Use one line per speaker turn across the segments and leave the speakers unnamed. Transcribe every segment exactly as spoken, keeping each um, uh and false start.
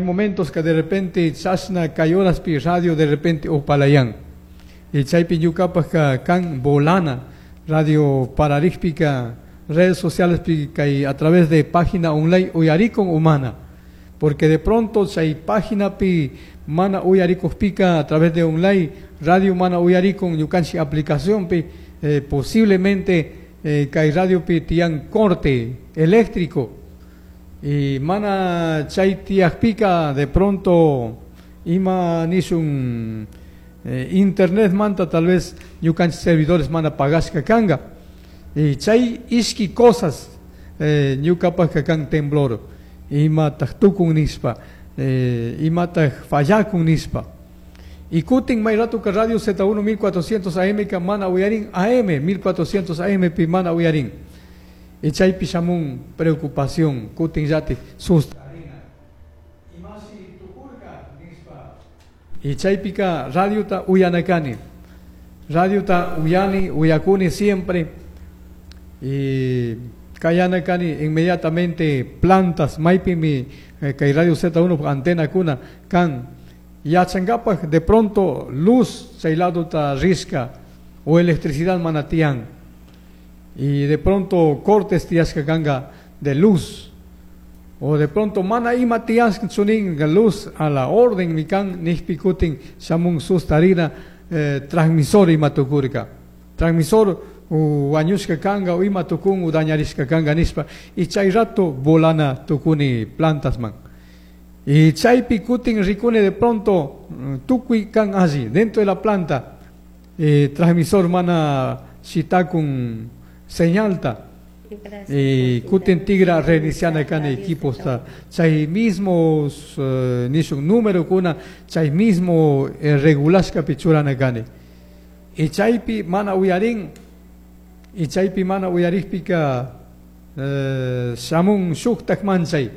Momentos que de repente chashna kay horaspi radio de repente upalayan. Y chaypi ñukapak kan volana radio pararikpika redes sociales kay a través de página online uyarikun humana. Porque de pronto chay página pi mana uyarikukpika a través de online radio mana uyarikun ñukanchik aplicación pi eh, posiblemente eh, kay radio pi tiyan corte eléctrico y mana chay tiyakpika de pronto ima nishun eh, internet manta tal vez ñukanchik servidores mana pagashka kanga y chay ishki cosas eh, ñukapakka kan temblor imataq tukun nishpa eh, imataq fallakun nishpa y kutin may ratuka radio Z uno mil cuatrocientos A M ka mana uyarin, A M mil cuatrocientos A M pi mana uyarin y chaypi shamun preocupación, kutin llatik sustarina, imashi tukurka nishpa. Y chaypika radiota uyanakani, radiota uyani, uyakuni siempre y kayanakani inmediatamente plantas maypimi eh, kay radio Z uno antena kuna kan yachankapak de pronto luz chay ladota rishka o electricidad mana tiyan y de pronto cortes tiyashka kanga de luz o de pronto mana ima tiyashka chunin luz a la orden mi kan nijpi kutin shamun sustarina, eh, transmisor ima tukurka, transmisor wañushka kanga o ima tukun o dañarishka kanga nishpa y chay rato volana tukuni plantas man. Y chaypi kutin rikuni de pronto mm, tukuy kan alli dentro de la planta, eh, transmisor mana shitakun señalta y kutin tigra reiniciana kan equipos ta chay mismo uh, nishun número kuna chay mismo eh, regulashkapi churana kani y chaypi mana uyarin. Y chaypi mana uyarikpika eh, shamun shuktak manchay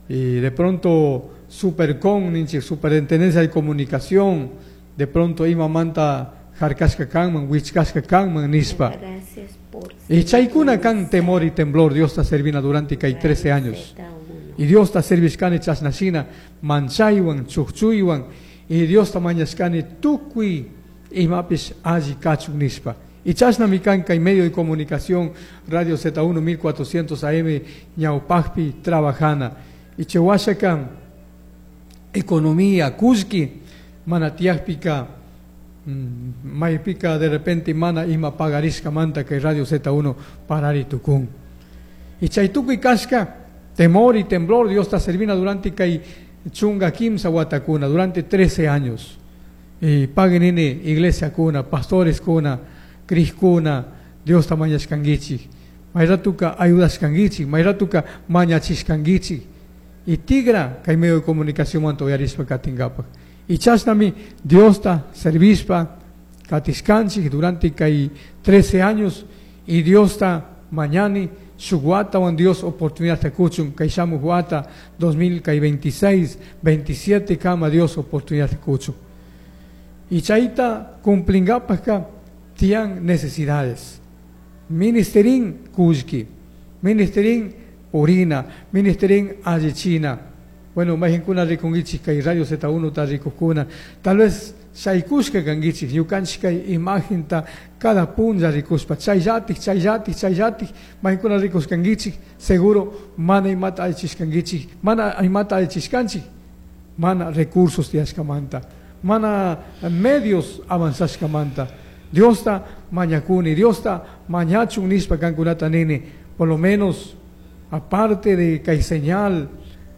y de pronto Supercom ninchik, Superintendencia de Comunicación, de pronto imamanta harkashka kanman, wichkashka kanman nishpa.
Gracias por
Y chaykuna kan temor y temblor Diosta servina durante kay trece años. Y Diosta servishkani chashnashina manchaywan, chukchuywan y Diosta mañashkani tukuy imapish alli kachun nishpa. Y chashnami kan kay medio de comunicación Radio Z uno mil cuatrocientos A M ñawpakpi trabajana. Y chawashaka economía, kullki mana tiyakpika mm, maypika de repente mana ima pagarishka manta kay Radio Z uno parari tukun. Y chay tukuy kashka temor y temblor Diosta servina durante kay chunka kimsa watakuna, durante trece años. Y pagui nini iglesia kuna, pastores kuna, kuna, Diosta mañashkanguichik. Mayratuka ayudashkanguichik, mayratuka mañachishkanguichik. Y tigra kay medio de comunicación manta uyarishpa katinkapak. Y chashnami Diosta servishpa katishkanchik durante kay trece años y Diosta mañani shuk watawan Dios oportunidad kuchun kay shamuk wata dos mil veintiséis, veintisiete kama Dios oportunidad kuchun. Y chayta cumplinkapakka tiyan necesidades. Ministerin kullki, ministerin purina, ministerin allichina. Bueno, mayqinkuna rikunkichik kay Radio Z uno ta rikukuna, tal vez shaykushka kankichik ñukanchik kay imagenta cada punlla rikushpa chayllatik, chayllatik, chayllatik mayqinkuna rikushkankichik seguro mana imata allichishkankichik, mana imata allichishkanchik, mana recursos tiyashkamanta, mana medios avanzashkamanta. Diosta mañakuni, Diosta mañachun nishpa kankunata nini, por lo menos aparte de kay señal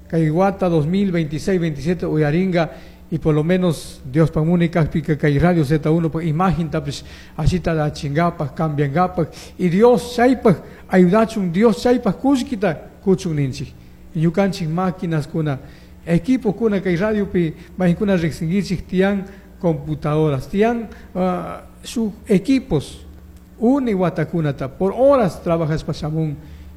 kay wata dos mil veintiséis veintisiete uyaringa y por lo menos Dios pamuni kajpika kay Radio Z uno pa imagen tapish ashita da chingapak cambiangapak y Dios chaypak ayudachun, Dios chaypak kullkita kuchun ninchik. Y ñukanchik máquinas kuna, equipo kuna kay radio pi mayqinkuna riqsinkichik tiyan computadoras, tiyan uh, sus equipos uni watakunata por horas trabajashpa shamun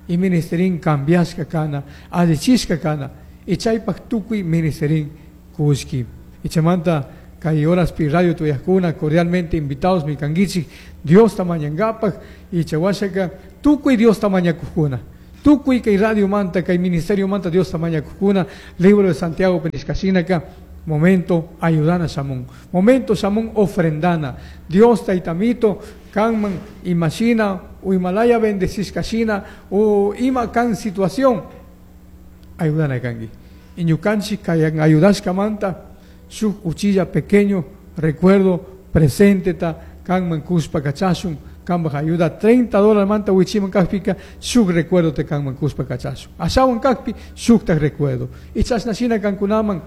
y ministerin cambiashka kana, allichishka kana y chaypak tukuy ministerin kullki. Y chaymanta kay horaspi radio tuyakuna cordialmente invitados mi kankichik Diosta mañankapak y chawashaka tukuy Diosta mañakukuna. Tukuy kay radio manta, kay ministerio manta Diosta mañakujkuna, libro de Santiago nishkashinaka, momento ayudana shamun, momento shamun ofrendana. Dios taytamito, kanman imashina, o imalaya bendecishkashina, o ima kan situación, ayudana kanki. Y ñukanchik kayan ayudashkamanta, shuk uchilla pequeño recuerdo presente ta kanman kushpa kachashun, kambaj ayuda treinta dólares manta wichiman kakpika, shuk recuerdo te kanman kushpa kachashun. Ashawan kakpi, shuktak recuerdo. Y chashnashina kankunaman,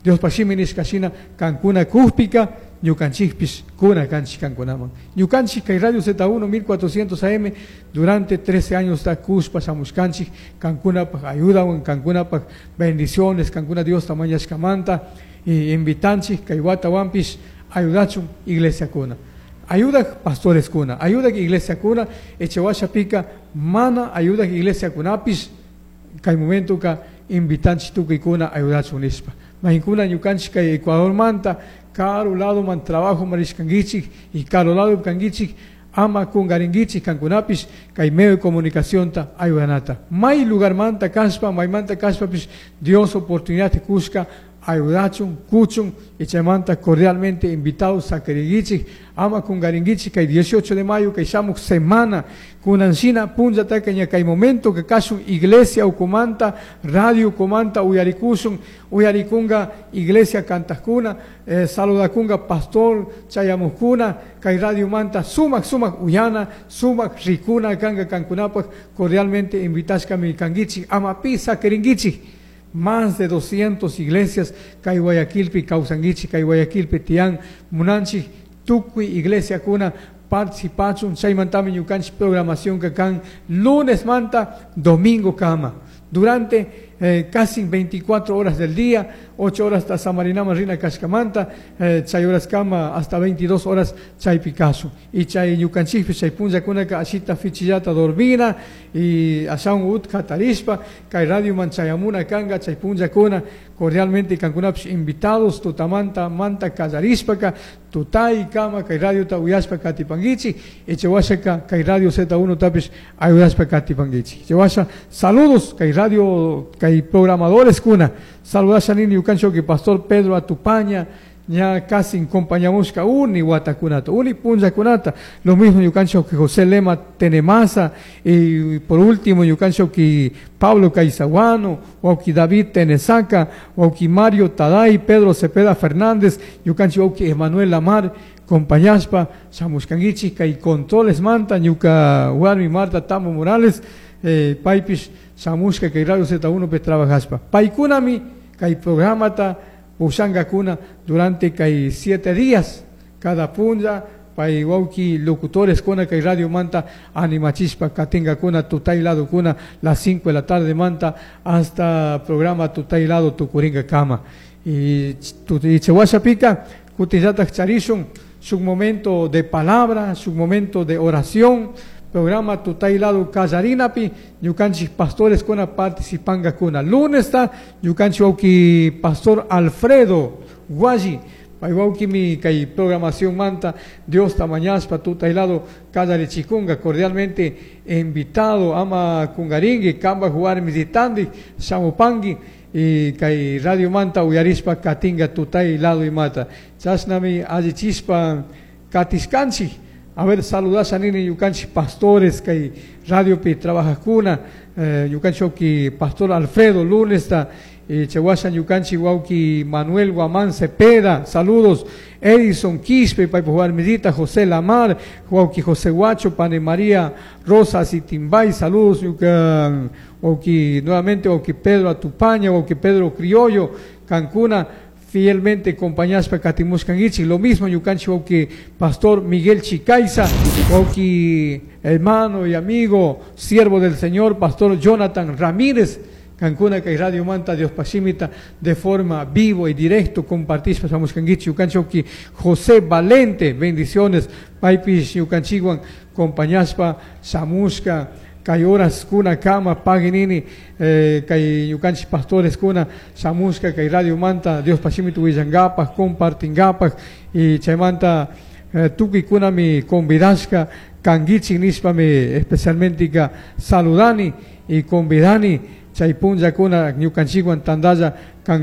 Dios pashimi nishkashina, kankuna kujpika, ñukanchikpis kuna kanchik kankunaman. Ñukanchik kay Radio Z uno mil cuatrocientos A M durante trece años ta kushpa shamushkanchik, kankunapaj ayudawan, kankunapaj bendiciones, kankuna Dios tamañashkamanta, y invitanchik kay watawanpis ayudachun iglesia kuna. Ayuda pastores kuna, ayuda iglesia kuna, echewasha pika, mana ayuda iglesia kunapis, kay momento ka invitanchik tukuy kuna ayudachun nishpa. Mahinkuna ñukanchik kay Ecuador manta, karu lado man trabajo marishkanguichik y karu lado kanguichik, ama kungaringuichik kankunapis, kay medio de comunicación ta ayudanata. May lugar manta kaspa, may manta kaspapis, Dios oportunidad te kushka, ayudachun, kuchun, y chaymanta cordialmente invitados a queriguichik, ama kungaringuichik, kay dieciocho de mayo, kay shamuk semana, kunansina, punlla tacaña, kay momento que kashun iglesia ukumanta, radio ukumanta, uyarikushun, uyarikunga, iglesia kantajkuna, eh, saludakunga, pastor, chayamukuna, kay radio manta, sumak, sumak, uyana, sumak, rikuna, kanga, kankunapaj, cordialmente invitashkami kanguichik, ama pisa queringuichik. Más de doscientas iglesias kay Guayaquilpi, Causanguichi, kay Guayaquilpi, Tián, Munanchi, Tucuy, Iglesia Cuna, participachun, chaymantami ñukanchik programación que kan lunes manta, domingo kama. Durante, eh, casi veinticuatro horas del día, ocho horas hasta Samarinama, Rina, Kashkamanta, eh, chay horas kama, hasta veintidós horas chay Picasso. Y chay ñukanchikpi, chay punlla kunaka, ashita fichillata dormina, y ashaun utka tarishpa, kay radio manchayamuna kanga, chay punlla kuna, cordialmente kankunapis invitados, tutamanta, manta, kallarishpaka, tutay kama, kay radio ta uyashpa katipanguichi, echewashaka, kay radio Z uno tapis ayudashpa katipanguichi. Echewasha, saludos, kay radio, kay programadores kuna, saludasha nini yukancho que pastor Pedro Atupaña, ya casi acompañamos uni watakunata, uni punja kunata, lo mismo yukancho que José Lema Tenemasa, y por último yukancho que Pablo Caizaguano, wauki David Tenesaca, wauki Mario Taday, Pedro Cepeda Fernández, yukancho wauki Emanuel Lamar, compañaspa, shamushkanguichi, kay controles manta, ñuka warmi Marta Tambo Morales, eh, paipish, shamushka kay Radio Z uno pe trabajaspa. Paikunami, kay programata, pushangakuna durante kay siete días, cada punlla, pay wauki locutores kuna kay Radio Manta, animachispa, katinga kuna, tutay lado kuna, las cinco de la tarde manta, hasta programa tutay lado tukuringa kama. Y, y chewasha pika, kutillatak charishun, su momento de palabra, su momento de oración, programa tutay lado kallarinapi, ñukanchik pastores kuna participanga kuna. Lunes ta, ñukanchik wauki pastor Alfredo Guayi, pay wauki mi kay programación manta, Dios tamañaspa tutay lado kallarichikunga, cordialmente invitado, ama kungaringui, kamba jugar misitandi, shamupangi, y kay Radio Manta uyarispa katinga tutay lado y mata. Chasnami allichispa katiskanchik. A ver, saludasha nini ñukanchik pastores kay radio pi trabajajkuna, eh, ñukanchik wauki pastor Alfredo lunes ta, eh, chewasha ñukanchik wauki Manuel Guamán Cepeda, saludos, Edison Quispe, paypaj warmillita, José Lamar, wauki José Guacho, Pane María Rosas y Timbay, saludos, ñuka, wauki, nuevamente wauki Pedro Atupaña, wauki Pedro Criollo, Cancuna, fielmente acompañaspa katimushkanguichik. Lo mismo ñukanchik wauki pastor Miguel Chicaiza, wauki hermano y amigo, siervo del Señor, pastor Jonathan Ramírez, Cancuna kay Radio Manta Dios Pashimita de forma vivo y directo compartispa shamushkanguichik. Ñukanchik wauki José Valente, bendiciones, paypish ñukanchikwan compañaspa shamushka kay horas kuna kama paginini, eh, kay ñukanchik pastores kuna shamushka kay Radio Manta Dios Pashimita willangapaj compartingapaj y chaymanta eh, tukuykunami convidashka kankichik nishpami especialmente ka saludani y convidani chay punllakuna ñukanchikwan tandalla kanga.